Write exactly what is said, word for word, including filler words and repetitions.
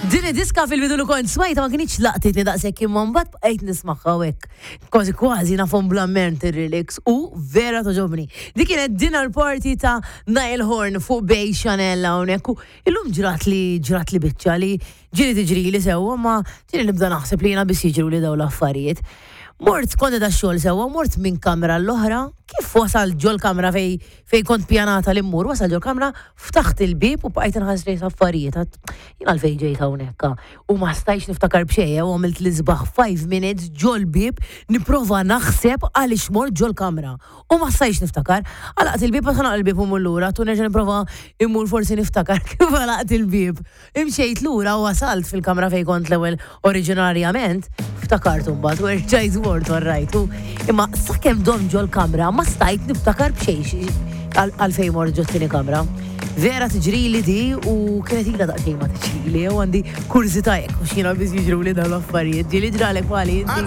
Din id-diska fil-bidu li kont smajta ma kinitx laqtitni daqshekk, imma mbagħad bqajt nismagħha hekk. Kważi kważi nafhom bl-amment ir-lyrics u vera togħġobni. Dik kienet Dinner Party ta' Niall Horan fuq Bay Chanel hawnhekk u illum ġrat li ġrat li biċċa li ġieli tiġri li sewwa, ma ġieli nibda naħseb li jiena biss jiġru li dawn l-affarijiet. Mort kont da xogħol sewwa, mort minn kamra l-oħra, kif wasal ġol kamra fej fej kont pjanata li mmur, wasal ġol kamra, ftaħt il-bib u bqajt inħares lejn affarijiet. Għedt, jien għalfejn ġejt hawnhekk? U ma stajx niftakar b'xejn u għamilt l-isbaħ five minutes ġol bib nipprova naħseb għaliex mort ġol kamra. U ma stajx niftakar. Għalaqt il-bib, għax għalaq il-bib u mmur lura, tu nerġa' nipprova immur forsi niftakar kif għalaqt il-bib. Imxejt lura u wasalt fil-kamra fej kont l-ewwel oriġinarjament, ftakart mbagħad u erġajt mort, alright. U imma sakemm dom ġol kamra ma stajt niftakar b'xejn għalfejn mort ġo t-tieni kamra. Vera tiġrili di u kienet ilha daqsxejn ma tiġrili u għandi kurżità jekk u xina biss jiġru li dawn l-affarijiet. Ġieli ġralek bħali inti?